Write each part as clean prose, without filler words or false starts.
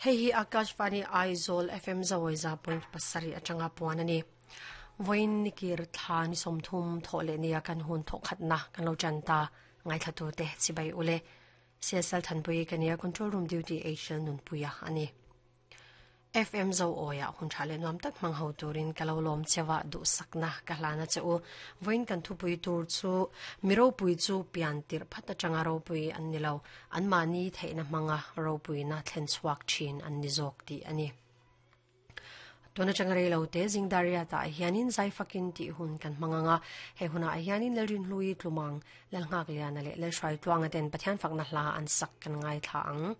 Hei hi Akashvani Aizawl FM Zawiza point pasarih atanga puan a ni. Vawiin nikir thla ni 30 thawh leh nia kan hun thawh khatna kan lo tan ta ngaithlatute chibai ule. CSL Thanpui ka nia Control Room Duty HL Nunpuia a ni. FM Zo Awiah hun tha leh nuam tak hmang ho turin ka lo lawm chewa duhsakna ka hlan a che u. Vawiin kan thupui tur chu mi ropui chu pian tirh phat atanga ropui an ni lo, anmahni theihna hmanga ropuina thlen chhuak thin an ni zawk tih a ni. Tun atanga rei lo te Zingdaria tah hianin zai fakin tih hun kan hmang ang a, he hunah hianin Lalrinhlui Tlumang, Lalnghakliana leh Lalhruaitluanga ten Pathian fakna hla an sak kan ngaithla ang.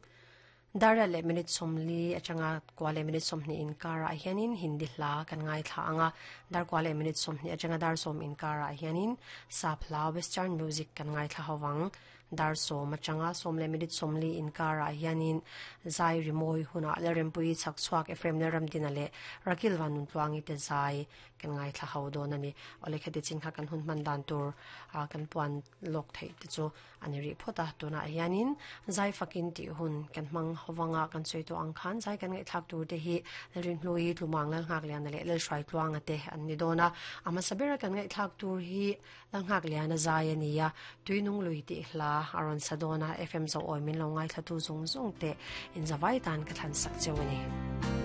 Daria leh minute 40 atanga kua leh minute 20 inkarah hianin Hindi hla kan ngaithla ang a, dar kua leh minute 20 atanga dar 10 inkarah hianin sap hla western music kan ngaithla ho ang. Dar 10 atanga 10 leh minute 40 inkarah hianin zai rimawi hunah Lalrempuii Chhakchhuak Ephraim Lalramdina leh Rakil Vanuntluangi te zai kan ngaithla ho dawn a ni. Awle khati chin kha kan hun hman dan tur kan puan lawk theih te chu a ni rih phawt a. Tunah hianin zai fakin tih hun kan hmang hovanga kan sawi tawh ang khan zai kan ngaihthlak tur te hi Lalrinhlui, Tlumang Lalnghakliana leh Lalhruaitluanga te an ni dawn a. A hmasa bera kan ngaihthlak tur hi Lalnghakliana zai a ni a, Tuinung lui tih hla a rawn sa dawn a, FM Zoawi min lo ngaithlatu zung zung teh inzavai tan ka thlan sak cheu a ni.